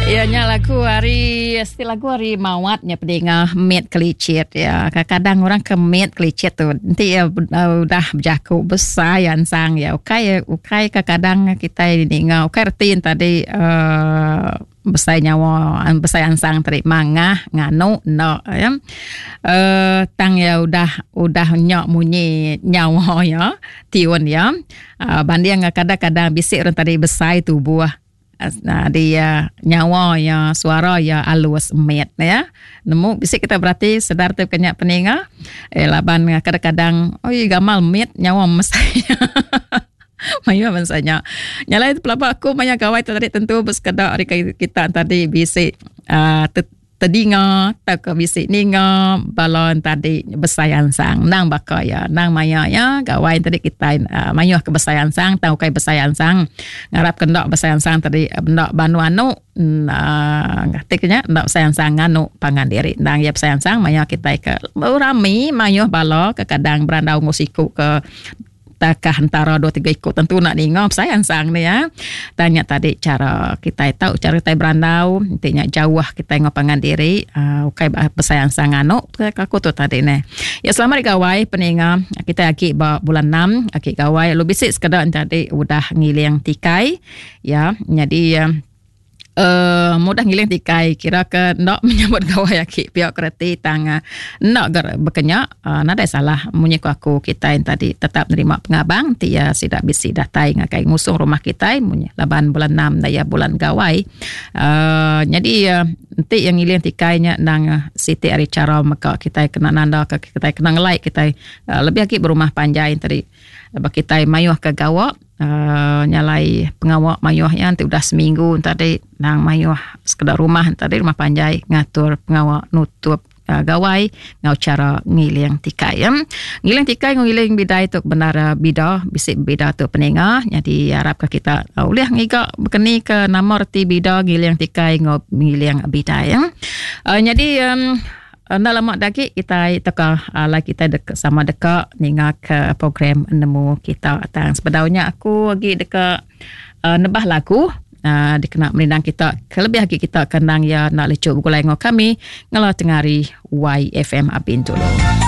Iya nya lagu ari siti lagu ari Mawat nya pedinga mit kelicit ya. Kadang-kadang orang ke mit kelicit tu enti iya udah bejaku besai ansang ya ukai ukai kadang-kadang kitai ninga ukai reti tadi uhh besai nyawa besai ansang tadi mangah nganu enda ya. Uhh tang iya udah udah nya munyi nyawa iya tiun iya uhh banding kadang-kadang bisi orang tadi besai tubuh. Di nyawa iya suara iya alus mit ya. Nemu bisi kita berati sedar tu ke nya peninga eh laban kadang-kadang oi gamal mit nyawa mesai. Mayuh bansa nya. Nya alai pelaba aku maya gawai tu tadi tentu besekeda ari kita tadi bisi uhh tedinga tauka bisi ninga bala tadi besai ansang endang baka iya endang maya iya gawai tadi kitai uhh mayuh ke besai ansang tang ukai besai ansang ngarap ke enda besai ansang tadi enda banu anu uhh ti ke nya enda besai ansang nganu pangan diri endang iya besai ansang maya kitai ke berami mayuh bala kekadang berandau enggau siku ke Takah entara dua tiga iku tentu enda ninga besai ansang ne ya. Tang nya tadi chara kitai tau chara kitai berandau enti nya jauh kitai enggau pangan diri uhh ukai besai ansang nganu ke aku tu tadi neh. Ya selamat hari gawai peninga kitai agi ba bulan enam agi gawai lalu bisi sekeda enti tadi udah ngiling tikai ya nyadi uhh mudah ngiling tikai kira ke enda menyambut gawai agi pia ke reti tang enda ga baka nya uhh nadai salah munyi ku aku kitai tadi tetap nerima pengabang ti iya sida bisi datai ngagai ngusung rumah kitai munyi laban bulan enam enda iya bulan gawai uhh nyadi enti iya ngiling tikai nya endang siti ari chara mega kitai kena nanda ka kitai kena ngelai kitai lebih agi berumah panjai tadi ba kitai mayuh ke gawa. uhh nya alai pengawa mayuh iya enti udah seminggu tadi nang mayuh sekeda rumah tadi rumah panjai ngatur pengawa nutup uhh gawai enggau chara ngiling tikai. Ngiling tikai enggau ngiling bidai tu bendar bida bisi bida tu peninga nyadi arap ka kita ulih ngiga bekeni ke nama reti bida ngiling tikai enggau ngiling bidai. uhh Nyadi uhh Enda lama da agi kitai tauka alai kitai deka sama deka ninga ke program nemu kita. Tang sebedau nya aku agi deka uhh nebah lagu uhh dikena merindang kita kelebih agi kita ke endang iya enda lechu begulai enggau kami ngela tengah hari YFM Abin dulu.